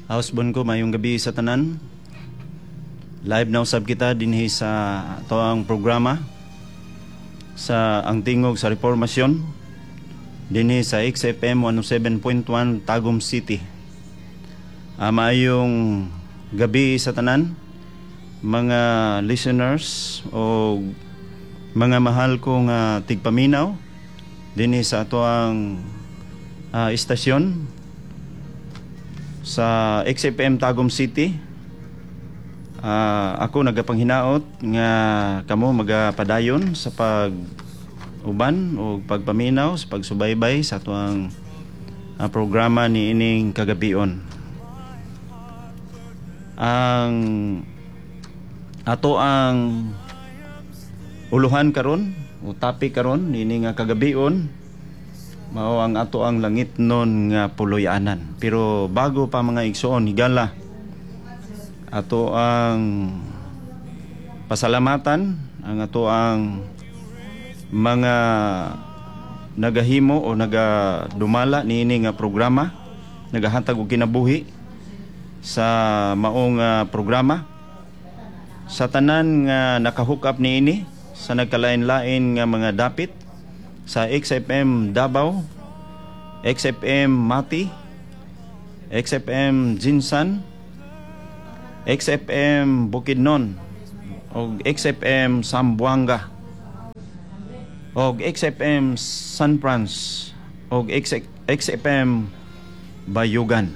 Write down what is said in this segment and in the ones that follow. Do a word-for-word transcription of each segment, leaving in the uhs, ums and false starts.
Housebon ko, maayong gabi sa tanan. Live na usab kita dinhi sa atoang programa sa Ang Tingog sa Reformasyon dinhi sa X F M one oh seven point one Tagum City. Uh, maayong gabi sa tanan, mga listeners o mga mahal ko nga tigpaminaw dinhi sa atoang uh, istasyon sa X F M Tagum City. Uh, ako nagapanghinaot nga kamo magapadayon sa pag uban o pagpaminaw sa pagsubaybay sa atoang uh, programa ni ining kagabion. Ang ato ang uluhan karon o topic karon niini nga kagabion mao ang ato ang langitnon nga puloy-anan. Pero bago pa, mga igsoon, higala, ato ang pasalamatan ang ato ang mga nagahimo o nagadumala niini nga programa, nagahatag og kinabuhi sa maong uh, programa, sa tanan nga naka-hook up niini sa nagkalain-lain nga mga dapit sa X F M Davao, X F M Mati, X F M Gensan, X F M Bukidnon, og X F M Zamboanga, og X F M San Frans, og X F M Bayugan.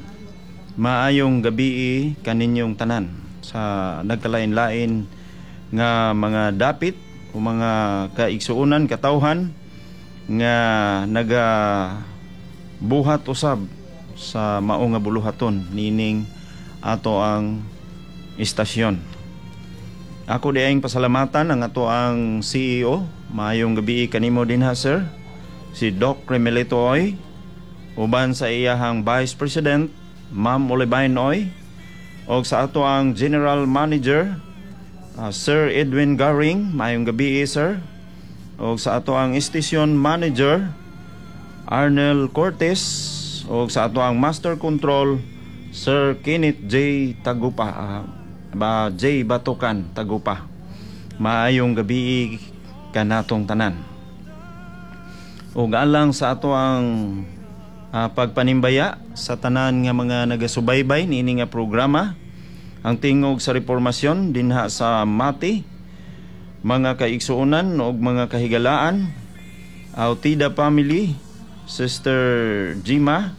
Maayong gabi kaninyong tanan sa nagkalain-lain nga mga dapit o mga kaigsuonan, katawhan nga naga buhat usab sa mao nga buluhaton nining ato ang istasyon. Ako diayng pasalamatan ang ato ang C E O. Maayong gabi kanimo dinha, sir. Si Doc Remelito Oy, uban sa iyahang Vice President, Ma'am Olivine Oy, og sa ato ang General Manager, uh, Sir Edwin Garing, maayong gabi, sir. Og sa ato ang Station Manager, Arnel Cortez, og sa ato ang Master Control, Sir Kenneth J. Tagupa, uh, ba J. Batukan Tagupa. Maayong gabi kanatong tanan. Ug alang sa ato ang uh, pagpanimbaya sa tanan nga mga nagasubaybay niini nga programa, Ang Tingog sa Reformasyon, dinha sa Mati, mga kaigsuonan ug mga kahigalaan, Autida family, Sister Jima,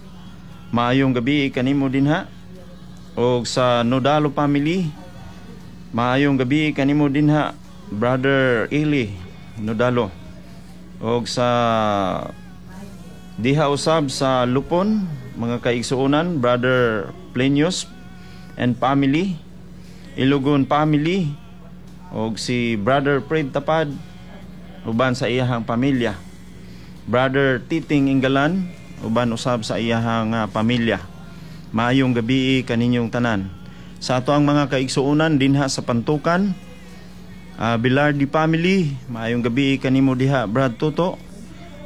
maayong gabi kanimo dinha, og sa Nodalo family, maayong gabi kanimo dinha, Brother Eli Nodalo, og sa diha usab sa Lupon, mga kaigsuonan, Brother Plenius and family, Ilugon family, og si Brother Fred Tapad uban sa iyahang pamilya, Brother Titing Ingalan uban usab sa iyahang uh, pamilya. Maayong gabi kaninyong tanan. Sa ato ang mga kaigsuonan dinha sa Pantukan, uh, Bilardi family, maayong gabi kanimo diha, Brad Toto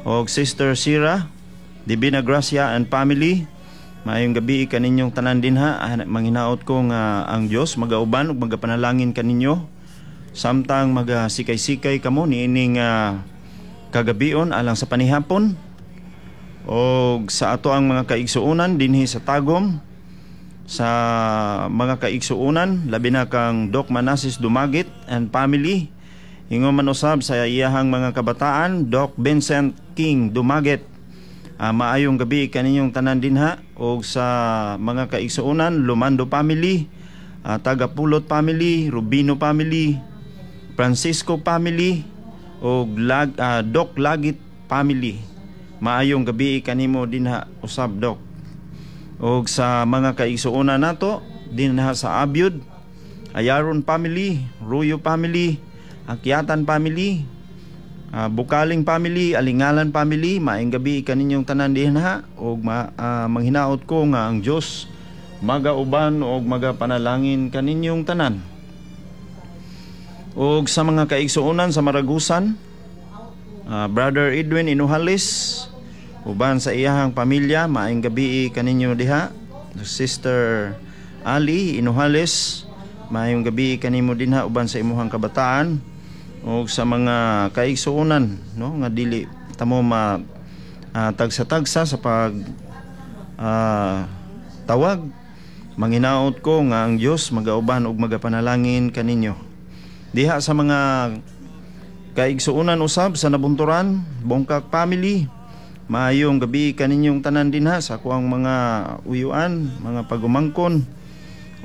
og Sister Sira Divina Gracia and family. Maayong gabi kaninyong tanan dinha. Ah, manghinaot ko nga ang Dios magauban ug magapanalangin kaninyo samtang magasikay-sikay kamo niining uh, kagabion alang sa panihapon. Og sa ato ang mga kaigsuonan dinhi sa Tagum, sa mga kaigsuonan, labi na kang Doc Manasis Dumagit and family, ingon man usab sa iyahang mga kabataan, Doc Vincent King Dumagit. Uh, maayong gabi kaninyong tanan dinha. Og sa mga kaigsuonan, Lumando family, uh, Tagapulot family, Rubino family, Francisco family og Lag, uh, Doc Lagit family. Maayong gabi kanimo dinha usab, Doc. Og sa mga kaigsuonan nato dinha sa Abyud, Ayaron family, Ruyo family, Akyatan family, uh, Bukaling family, Alingalan family, maayong gabi kaninyong tanan dinha og ma, uh, manghinaot ko nga ang Dios magauban og magapanalangin kaninyong tanan. Og sa mga kaigsuonan sa Maragusan, uh, Brother Edwin Inuhalis uban sa iyahang pamilya, maayong gabi kaninyo diha. Sister Ali Inuhales, maayong gabi kanimo dinha uban sa imuhang kabataan ug sa mga kaigsuonan, no, nga dili tamo ma ah, tagsa-tagsa sa pag ah, tawag. Manginaot ko nga ang Dios magauban ug magapanalangin kaninyo. Diha sa mga kaigsuonan usab sa Nabunturan, Bongkak family, maayong gabi kaninyong tanan dinha sa akuang mga uyuan, mga pagumangkon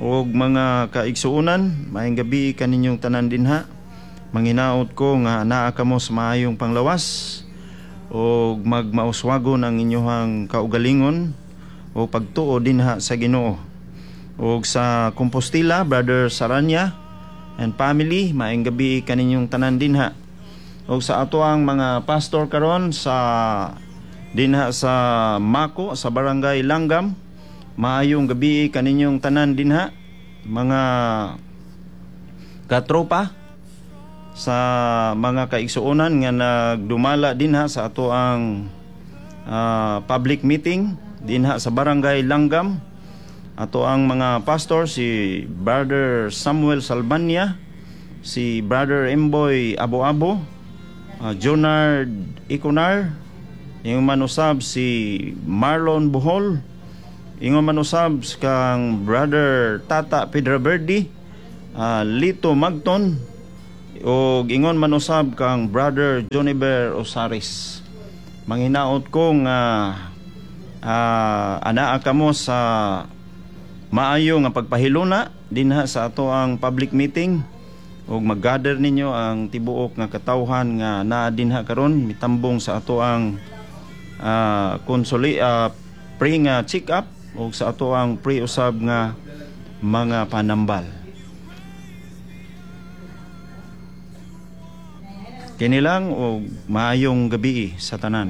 ug mga kaigsuonan, maayong gabi kaninyong tanan dinha. Manginaot ko nga naa kamo sa maayong panglawas ug magmauswagon ang inyong kaugalingon o pagtuo dinha sa Ginoo. Ug sa Compostela, Brother Saranya and family, maayong gabi kaninyong tanan dinha. Ug sa ato ang mga pastor karon sa dinha sa Mako, sa Barangay Langgam, maayong gabi kaninyong tanan dinha, mga katropa, sa mga kaigsuonan nga nagdumala dinha sa ato ang ah, public meeting dinha sa Barangay Langgam. Ato ang mga pastor, si Brother Samuel Salbania, si Brother Emboy Abo-Abo, uh, Jonard Iconar, ingon man usab si Marlon Bohol, ingon man usab kang Brother Tata Pedro Verdi, uh, Lito Magton, ug ingon man usab kang Brother Joniber Osaris. Manginaot ko nga uh, anaa kamo sa maayo nga pagpahiluna dinha sa ato ang public meeting ug mag-gather ninyo ang tibuok nga katawhan nga naa dinha karon mitambong sa ato ang uh, konsoli uh, pre nga check up ug sa ato ang pre usab nga mga panambal. Kini lang ug maayong gabi sa tanan.